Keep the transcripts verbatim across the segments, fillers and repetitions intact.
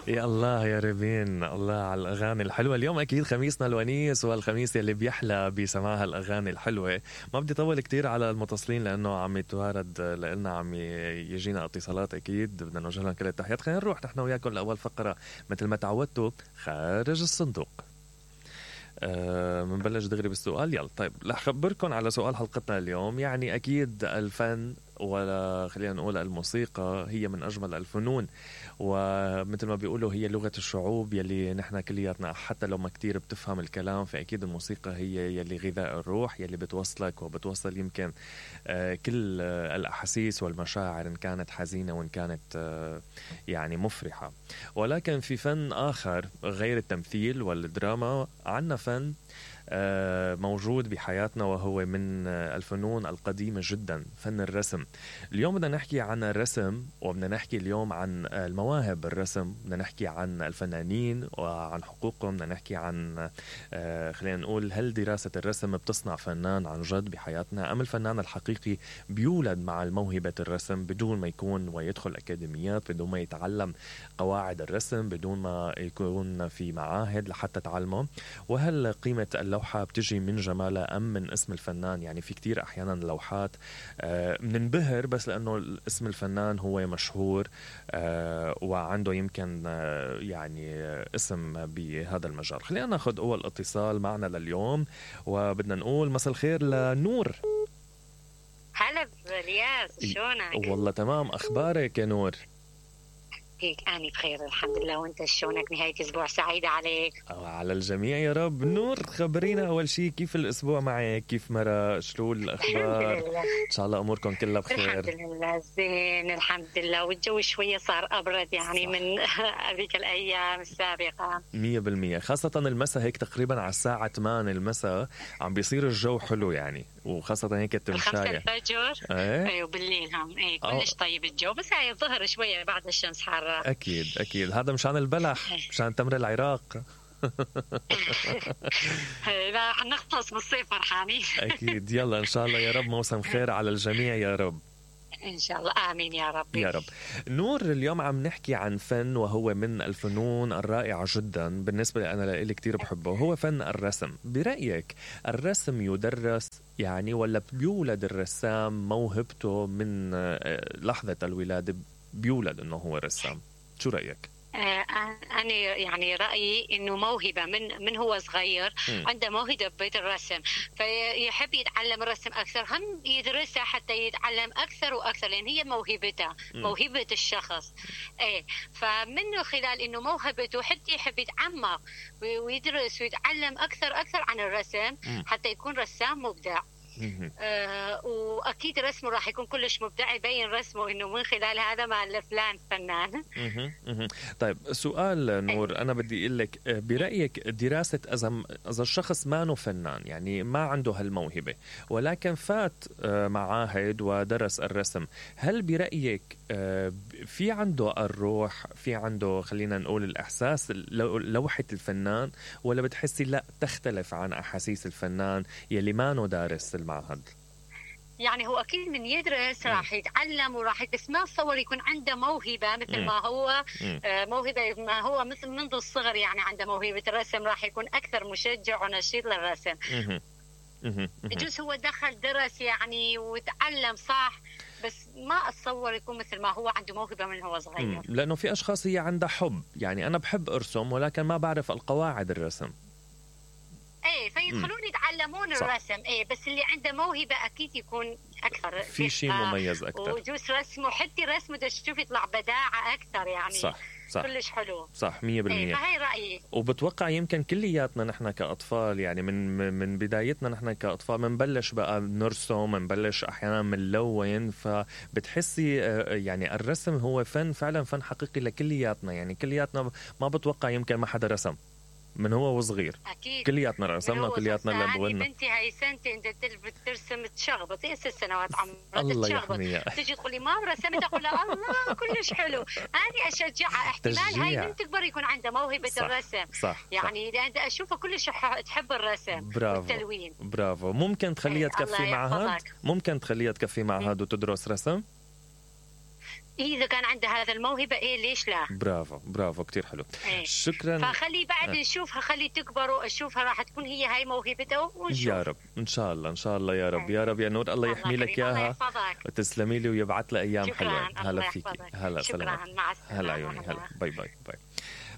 يا الله يا ريبين، الله على الأغاني الحلوة. اليوم أكيد خميسنا الونيس، والخميس يلي بيحلى بسماع هالأغاني الحلوة. ما بدي طول كتير على المتصلين لأنه عم يتوارد لنا، عم يجينا اتصالات. أكيد بدنا نوجه لهم كل التحيات. خلينا نروح نحن وياكم لأول فقرة مثل ما تعودتوا، خارج الصندوق. أه منبلش دغري بالسؤال. يلا طيب، رح أخبركم على سؤال حلقتنا اليوم. يعني أكيد الفن، ولا خلينا نقول الموسيقى، هي من أجمل الفنون، ومثل ما بيقولوا هي لغة الشعوب يلي نحن كلياتنا حتى لو ما كتير بتفهم الكلام، فأكيد الموسيقى هي يلي غذاء الروح، يلي بتوصلك وبتوصل يمكن آه كل آه الأحاسيس والمشاعر، إن كانت حزينة وإن كانت آه يعني مفرحة. ولكن في فن آخر غير التمثيل والدراما، عنا فن موجود بحياتنا وهو من الفنون القديمة جدا، فن الرسم. اليوم بدنا نحكي عن الرسم، وبدنا نحكي اليوم عن المواهب الرسم، بدنا نحكي عن الفنانين وعن حقوقهم، بدنا نحكي عن خلينا نقول هل دراسة الرسم بتصنع فنان عن جد بحياتنا، أم الفنان الحقيقي بيولد مع الموهبة الرسم بدون ما يكون ويدخل أكاديميات، بدون ما يتعلم قواعد الرسم، بدون ما يكون في معاهد لحتى تعلمه. وهل قيمة اللوحة بتجي من جمالها أم من اسم الفنان؟ يعني في كتير أحيانا لوحات بننبهر بس لأنه اسم الفنان هو مشهور وعنده يمكن يعني اسم بهذا المجال. خلينا ناخد أول اتصال معنا لليوم، وبدنا نقول مساء الخير لنور. هلا بالياس، شلونك؟ والله تمام، أخبارك يا نور؟ هيك أنا بخير الحمد لله، وأنت شلونك؟ نهاية أسبوع سعيدة عليك. على الجميع يا رب. نور، خبرينا أول شيء كيف الأسبوع معك، كيف مرة، شلو الأخبار؟ الحمد لله. إن شاء الله أموركم كلها بخير. الحمد لله زين الحمد لله، والجو شوية صار أبرد يعني صح. من هذيك الأيام السابقة مية بالمية، خاصة المساء هيك تقريبا على الساعة ثمانية المساء عم بيصير الجو حلو يعني، وخاصة هيك التمشاية خمسة الفجر. ايه ايوه بالليل هم ايه كلش طيب الجو، بس هاي الظهر شوية بعد الشمس حارة. أكيد أكيد، هذا مشان البلح، مشان تمر العراق. لا حنخلص بالصيف فرحانين. أكيد. يلا إن شاء الله يا رب موسم خير على الجميع يا رب. إن شاء الله آمين يا رب يا رب. نور، اليوم عم نحكي عن فن وهو من الفنون الرائعة جدا بالنسبة لي، أنا لإلي كتير بحبه، هو فن الرسم. برأيك الرسم يدرس يعني، ولا بيولد الرسام موهبته من لحظة الولادة بيولد إنه هو رسام؟ شو رأيك؟ أنا يعني رأيي إنه موهبة من من هو صغير م. عنده موهبة بالرسم، فيحب يتعلم الرسم أكثر، هم يدرسها حتى يتعلم أكثر وأكثر، لأن هي موهبته، موهبة الشخص. إيه، فمنه خلال إنه موهبته حتى يحب يتعمق ويدرس ويتعلم أكثر أكثر عن الرسم م. حتى يكون رسام مبدع. آه واكيد رسمه راح يكون كلش مبدع، يبين رسمه انه من خلال هذا مع فلان فنان. طيب سؤال نور، انا بدي اقول لك برايك دراسه اذا اذا الشخص ما انه فنان، يعني ما عنده هالموهبه ولكن فات معاهد ودرس الرسم، هل برايك في عنده الروح، في عنده خلينا نقول الاحساس لوحه الفنان، ولا بتحسي لا تختلف عن احاسيس الفنان يلي ما انه دارس المعهد؟ يعني هو أكيد من يدرس راح يتعلم وراح، بس ما أتصور يكون عنده موهبة مثل ما هو موهبة ما هو مثل منذ الصغر، يعني عنده موهبة الرسم، راح يكون أكثر مشجع ونشيط للرسم. يجوز هو دخل درس يعني وتعلم صح، بس ما أتصور يكون مثل ما هو عنده موهبة من هو صغير. لأنه في أشخاص هي عندها حب، يعني أنا بحب أرسم ولكن ما بعرف القواعد الرسم، ايه فيدخلون يتعلمون صح. الرسم ايه، بس اللي عنده موهبة اكيد يكون اكثر في شيء مميز اكثر، وجوز رسمه حتى رسمه تشوف يطلع بداعة اكثر يعني. صح صح كلش حلو. صح مية بالمية. ايه فهي رأيي. وبتوقع يمكن كلياتنا نحن كأطفال، يعني من من بدايتنا نحن كأطفال منبلش بقى نرسم، منبلش احيانا منلون، فبتحسي يعني الرسم هو فن فعلا، فن حقيقي لكلياتنا، يعني كلياتنا ما بتوقع يمكن ما حدا رسم من هو وصغير، أكيد كلياتنا رسمنا كلياتنا لبونا. بنتي هاي سنتي انت بترسم تشغبط، هي ست سنوات عمرها الله يحميها، تجي تقول لي ما رسمت، اقول لها الله كلش حلو، انا اشجعها، احتمال هاي من تكبر يكون عندها موهبة صح. الرسم صح. يعني صح. اذا اشوفها كلش تحب الرسم والتلوين. برافو. ممكن تخليها تكفي معهد، ممكن تخليها تكفي معهد وتدرس رسم. اذا كان عنده هذا الموهبه ايه ليش لا. برافو برافو كتير حلو. إيه. شكرا. فخلي بعد آه. نشوفها، خلي تكبر واشوفها راح تكون هي هاي موهبته ونشوف. يا رب ان شاء الله ان شاء الله يا رب. يا رب يا نور الله يحمي لك اياها وتسلمي لي ويبعث لي ايام حلوه. هلا فيك. هلا سلام. مع السلامه. هلا عيوني. هلا باي باي باي.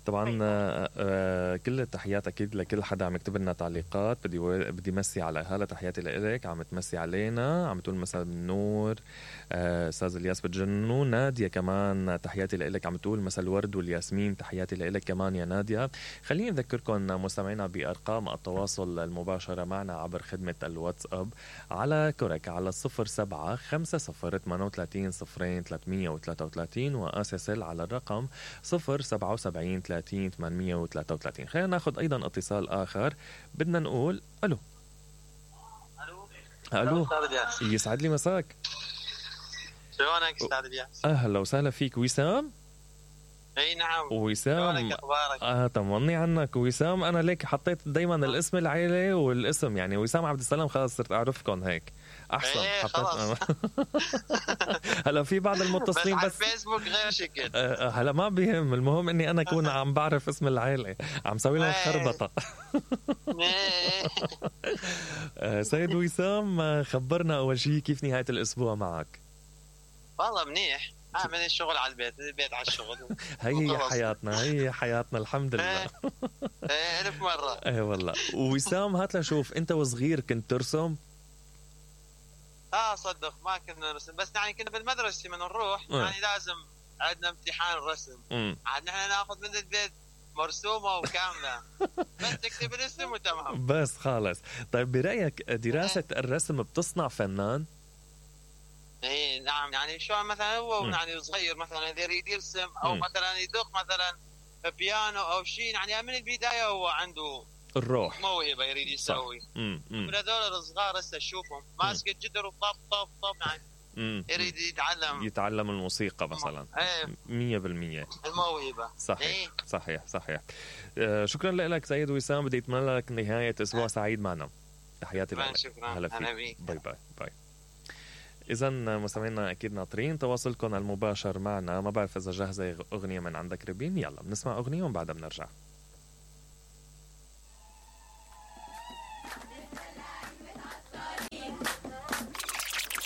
طبعا آه آه كل التحيات اكيد لكل حدا عم يكتب لنا تعليقات. بدي و... بدي مسي على هلا، تحياتي لك. عم تمسي علينا، عم تقول مساء النور استاذ آه الياس بتجننوا. ناديه كمان تحياتي لك، عم تقول مساء الورد والياسمين. تحياتي لك كمان يا ناديه. خليني اذكركم مستمعينا بارقام التواصل المباشره معنا عبر خدمه الواتساب على كورك على صفر سبعة خمسة صفر ثمانية وثلاثين صفرين ثلاثمية وثلاثة وثلاثين واسسل على الرقم صفر سبعة وسبعين ثلاثين ثمانمية وثلاثة وثلاثين. خلينا ناخذ ايضا اتصال اخر. بدنا نقول الو. الو الو يسعد لي مساك. شلونك استاذ الياس؟ اهلا وسهلا فيك. وسام. اي نعم. وسام اه طمني عنك وسام. انا ليك حطيت دايما الاسم العائله والاسم، يعني وسام عبد السلام، خلاص صرت اعرفكم هيك احسن. ايه حطيت هلا في بعض المتصلين بس, بس على الفيسبوك غير شكل. آه هلا ما بيهم، المهم اني انا اكون عم بعرف اسم العائله، عم سوي لهم خربطه. آه سيد وسام خبرنا اول شيء كيف نهايه الاسبوع معك؟ والله منيح، من الشغل على البيت، البيت على الشغل. هي حياتنا هي حياتنا الحمد لله. ايه ألف مرة. ايه والله. وسام هات لشوف، انت وصغير كنت ترسم؟ اه صدق ما كنا نرسم، بس يعني كنا بالمدرسة من نروح اه. يعني لازم عندنا امتحان رسم، عاد نحن ناخذ من البيت مرسومة وكاملة. بس تكتب الاسم وتمام. بس خالص. طيب برأيك دراسة اه. الرسم بتصنع فنان؟ ايه نعم، يعني شو مثلا هو م. يعني صغير مثلا اذا يريد يرسم او م. مثلا يدق مثلا بيانو او شيء، يعني من البدايه هو عنده الروح موهبه يريد يسوي. من هذول الصغار هسه تشوفهم ماسك الجدر وطب طب طب يعني م. يريد يتعلم يتعلم الموسيقى مثلا. ايه مية بالمية الموهبه. صحيح ايه؟ صحيح صحيح. آه شكرا لك سيد وسام، بدي اتمنى لك نهايه اسبوع اه. سعيد معنا. تحياتي لك. شكرا. هلا فيك. باي باي باي. إذا مستمعينا أكيد ناطرين تواصلكم المباشر معنا. ما بعرف إذا جاهزة أغنية من عندك ربين. يلا بنسمع أغنية وبعدها بنرجع.